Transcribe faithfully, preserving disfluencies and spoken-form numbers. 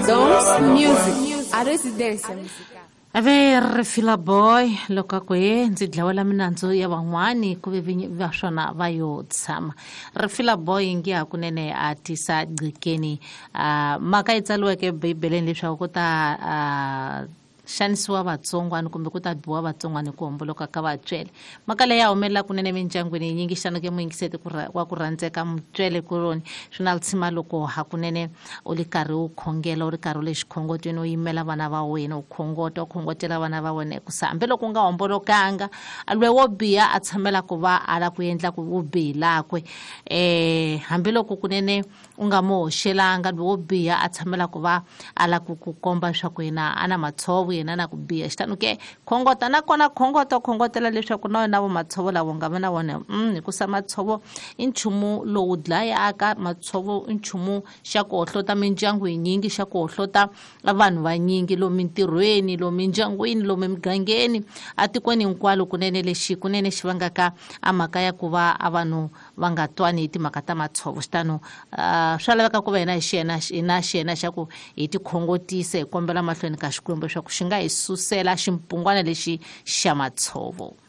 Doms Music, a residência musical. Ave Rifila Boy loko a ku he ndzi dlawela minandzu ya van'wani ku ve vinyi va swona va yo tshama. Rifila Boy ngi hakunene a tisa gcikeni uh, mhaka yi tsaliweke ebibeleni leswaku ku ta uh, xanisiwa vatsongwana kumbe ku ta biwa vatsongwana hi ku homboloka ka vatswele. Mhaka leyi ya humelela kunene mindyangwini yinyingi xana ke muyingiseti wa ku rhandzeka mutswele kuloni swi na tshima loko hakunene u ri karhi u khongela u ri karhi u le xikhongotweni u yimela vana va wena u khongota u khongotela vana va wena hikusa hambiloko u nga hombolokanga lwe wo biha a tshamela ku va a la ku endla ku vubihi lakwe um hambiloko kunene u nga mo hoxelanga lwe wo biha a tshamela ku va a la ku ku komba leswaku yena a na matshovo yena na ku biha. Xitano ke khongota nakona khongota khongotela leswaku na wena vo matshovo lavo nga va na wona mm, hikusa matshovo i nchumu lowu dlayaka, matshovo i nchumu xa ku hohlota mindyangu yinyingi, xa ku hohlota vanhu vanyingi lomu mintirhweni, lomu mindyangwini, lomu emigangeni, atikweni hinkwalo kunene lexi kunene xi vangaka a mhaka ya ku va a vanhu va nga twani hi timhaka ta matshovo. Xitano uh, swa laveka ku va hina hi xiyena hina xiyena xa ku hi tikhongotisa hi kombela mahlweni ka Xikwembu leswaku xi nga hi susela ximpungwana lexi xa matshovo.